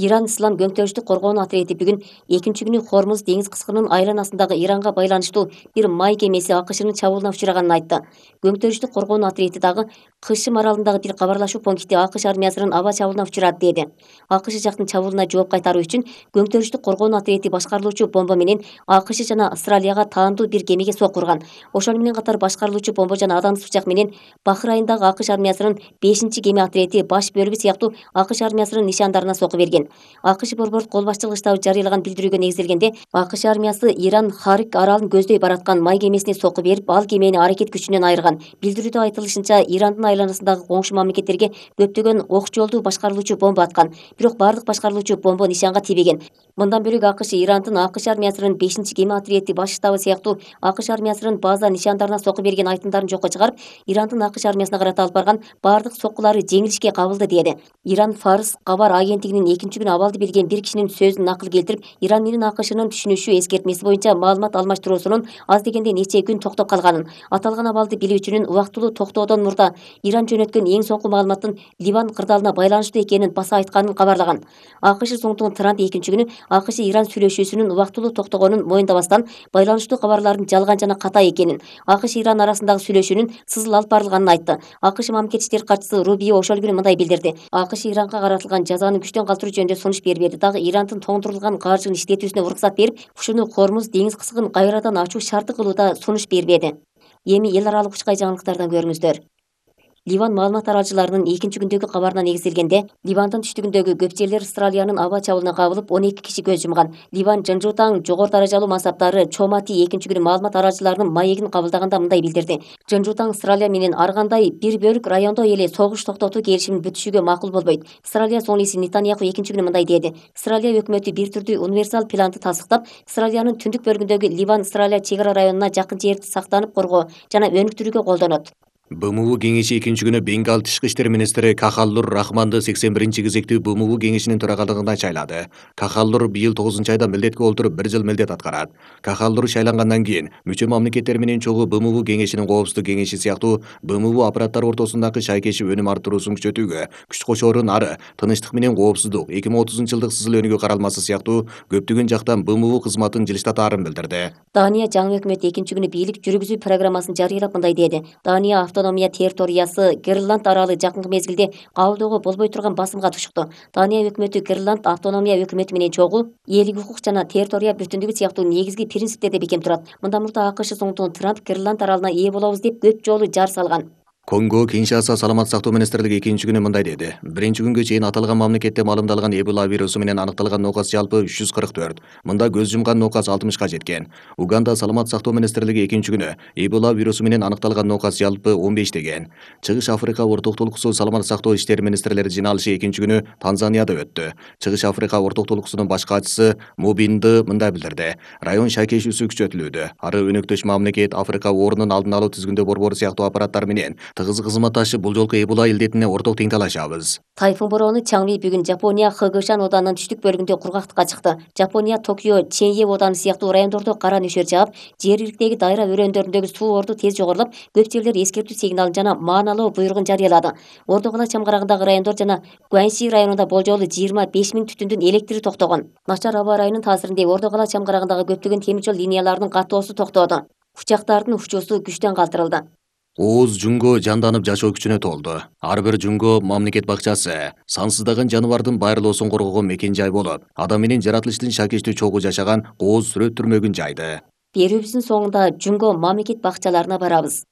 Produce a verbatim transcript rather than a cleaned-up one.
Иран Ислам көңтөрүштүк коргоонуу отряди бүгүн экинчи күнү Хормуз деңиз кыскынын айланасындагы Иранга байланыштуу бир май кемеси АКШнын чабуулуна учураганын айтты. Көңтөрүштүк коргоонуу отряди дагы Кышым аралындагы бир кабарлашуу пункти АКШ армиясынын аба чабуулуна учурат деди. АКШ жактын чабуулуна жооп кайтаруу үчүн көңтөрүштүк коргоонуу отряди башкарылуучу бомба менен АКШ жана Австралияга таандуу бир кемеге сокку урган. Ошону менен катар башкарылуучу бомба жана адамсыз бычак менен Бахрайындагы АКШ армиясынын бешинчи кеме отряди баш бөлүгү сыяктуу АКШ армиясынын нишандарына сокку берген. АКШ борбордук кол башчылыгы штабы жарыялаган билдирүүгө негизделгенде, АКШ армиясы Иран Харик аралын көздөй бараткан май кемесине сокку берип, ал кемени аракет күчүнөн айырган. Билдирүүдө айтылышынча, Ирандын айланасындагы коңшу мамлекеттерге көптөгөн ок жолдуу башкарылуучу бомба аткан, бирок бардык башкарылуучу бомба нишанга тийбеген. Мындан бөлөк АКШ Ирандын АКШ армиясынын бешинчи кеме отряди баш штабы сыяктуу АКШ армиясынын база нишандарына сокку берген айтымдарын жокко чыгарып, Ирандын АКШ армиясына карата алып барган бардык соккулары жеңилишке кабылды деди. Иран Фарс кабар агенттигинин экинчи күнү абалды билген бир кишинин сөзүн накыл келтирип, Иран менен АКШнын түшүнүшүү эскертмеси боюнча маалымат алмаштыруусунун аз дегенде нече күн токтоп калганын, аталган абалды билүүчүнүн убактылуу токтоодон мурда Иран жөнөткөн эң соңку маалыматтын Ливан кырдаалына байланыштуу экенин баса айтканын кабарлаган. АКШ Зоңтугун Трамп экинчи күнү АКШ Иран сүйлөшүүсүнүн убактылуу токтогонун моюндабастан, байланыштуу кабарлардын жалган жана ката экенин, АКШ Иран арасындагы сүйлөшүүнүн сызыл алып барылганын айтты. АКШ мамлекет иштери катчысы Рубио ошол күнү мындай билдирди: АКШ Иранга каратылган жазаны күчтөн калтыруу жөнүндө сунуш бербеди, дагы Ирандын тоңдурулган каржыгын иштетүүсүнө уруксат берип, ушуну Хормуз деңиз кыскын кайрадан ачуу шарты кылууда сунуш бербеди. Эми эл аралык учкай жаңылыктардан көрүңүздөр. Ливан маалымат аралчыларынын экинчи күндөгү кабарына негизделгенде, Ливандын түштүгүндөгү көп жерлер Австралиянын аба чабуулуна кабылып, он эки киши көз жумган. Ливан Жынжутаң жогору даражалуу мансаптары Чомати экинчи күнү маалымат аралчыларынын маегин кабылдаганда мындай билдирди: Жынжутаң Австралия менен ар кандай бир бөлүк райондо эле согуш токтотуу келишимин бүтүшүгө макул болбойт. Австралия соңлиси Нетаньяху экинчи күнү мындай деди: Австралия өкмөтү бир түрдүү универсал планды тастыктап, Австралиянын түндүк бөлүгүндөгү Ливан-Австралия чек ара районуна жакын жерди сактанып коргоо жана өнүктүрүүгө колдонот. БМУ кеңеши экинчи күнү Бенгал тышкы иштер министри Кахаллур Рахманды сексен биринчи кезектүү БМУ кеңешинин төрагалыгына шайлады. Кахаллур быйыл тогузунчу айда милдетке олтуруп бир жыл милдет аткарат. Кахаллур шайлангандан кийин мүчө мамлекеттер менен чогуу БМУ кеңешинин коопсуздук кеңеши сыяктуу БМУ аппараттары ортосундагы шайкешип өнүм арттыруусун күчөтүүгө күч кошоорун ары тынычтык менен коопсуздук эки миң отузунчу жылдык сызыл өнүгүү каралмасы сыяктуу көптөгөн жактан БМУ кызматын жылыштатаарын билдирди. Дания жаңы өкмөт экинчи күнү бийлик жүргүзүү программасын жарыялап мындай деди: Дания автономия территориясы Гренланд аралы жакынкы мезгилде кабылдоого болбой турган басымга тушукту. Дания өкмөтү Гренланд автономия өкмөтү менен чогуу элдик укук жана территория бүтүндүгү сыяктуу негизги принциптерде бекем турат. Мындан мурда АКШ Зоңтугун Трамп Гренланд аралына ээ болобуз деп көп жолу жар салган. Конго Киншаса саламат сактоо министрлиги экинчи күнү мындай деди: биринчи күнгө чейин аталган мамлекетте маалымдалган Эбола вирусу менен аныкталган нокас жалпы үч жүз кырк төрт. Мында көз жумган нокас алтымышка жеткен. Уганда саламат сактоо министрлиги экинчи күнү Эбола вирусу менен аныкталган нокас жалпы он беш деген. Чыгыш Африка орток толкусу саламат сактоо иштери министрлери жыйналышы экинчи күнү Танзанияда өттү. Чыгыш Африка орток толкусунун баш катчысы Мобинды мындай билдирди: район шайкешүүсү күчөтүлүүдө. Ары өнөктөш мамлекет Африка оорунун алдын алуу тизгиндөө борбору сыяктуу аппараттар менен тыгыз кызматташып, бул жолку Эбола илдетине орток тең талашабыз. Тайфун бороону Чаңви бүгүн Жапония Хэгошан оданынын түштүк бөлүгүндө кургактыкка чыкты. Жапония Токио Ченье оданы сыяктуу райондордо кара нөшөр жаап, жергиликтеги дайра өрөөндөрүндөгү суу орду тез жогорулап, көп жерлер эскертүү сигналын жана мааналуу буйругун жарыялады. Ордо кала чамгарагындагы райондор жана Гуаньси районунда болжолу жыйырма беш миң түтүндүн электри токтогон. Начар аба ырайынын таасиринде Ордо кала чамгарагындагы көптөгөн темир жол линияларынын каттоосу токтоду. Учактардын учуусу күчтөн калтырылды. Ооз Жунго жанданып жашоо күчүнө толду. Ар бир Жунго мамлекет бакчасы сансыздаган жаныбардын байырлоосун коргогон мекен жай болуп, адам менен жаратылыштын шакештүү чогуу жашаган кооз сүрөт түрмөгүн жайды. Берүүбүздүн соңунда Жунго мамлекет бакчаларына барабыз.